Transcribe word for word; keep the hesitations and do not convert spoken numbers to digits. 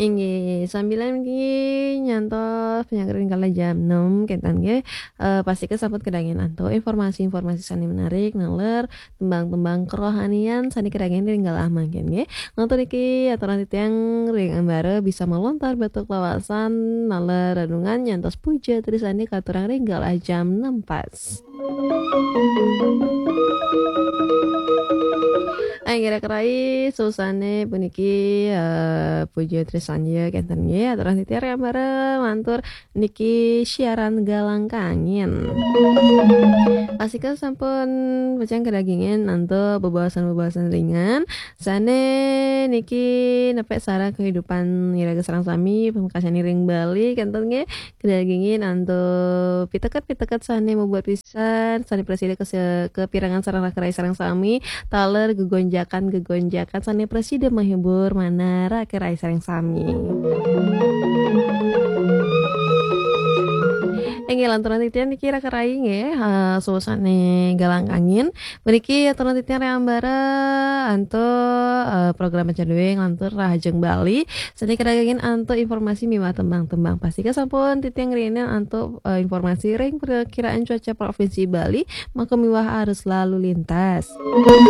Inggih, sambilan niki nyantos panyangga ring kala jam enam, kénten nggih. Eh, pastika sampun kadagingin antuk informasi-informasi sané menarik, naler tembang-tembang kerohanian sané kadagingin ring galah mangkin nggih. Ngantos niki aturang titiang ring ambara bisa malontar batuk lawasan, naler renungan nyantos puja trisandi katurang ring galah jam enam pas. Inggih raka rai, susané puniki, eh, puja trisandi kénten nggih, aturang titiang ring ambara lantur niki siaran Galang Kangin. Pastika sampun pacang kadagingin antuk bebaosan-bebaosan ringan sané niki nepek sareng kehidupan iraga sareng sami, pamekasane ring Bali kénten nggih. Kadagingin antuk piteket-piteket sané mabuat pisan, sané prasida kase-, kapirengang sareng raka rai sareng sami, taler gegonjakan-gegonjakan sané prasida mahibur manah raka rai sareng sami. Inggih, lanturang titiang niki raka rai nggih, eh, susané Galang Kangin. Mriki aturang titiang ring ambara antuk, eh, program Macan Dongeng lantur Rahajeng Bali. Sané kadagingin antuk informasi miwah tembang-tembang. Pastika sampun titiang ngrienin antuk, eh, informasi ring Perkiraan Cuaca Provinsi Bali, maka miwah arus lalu lintas.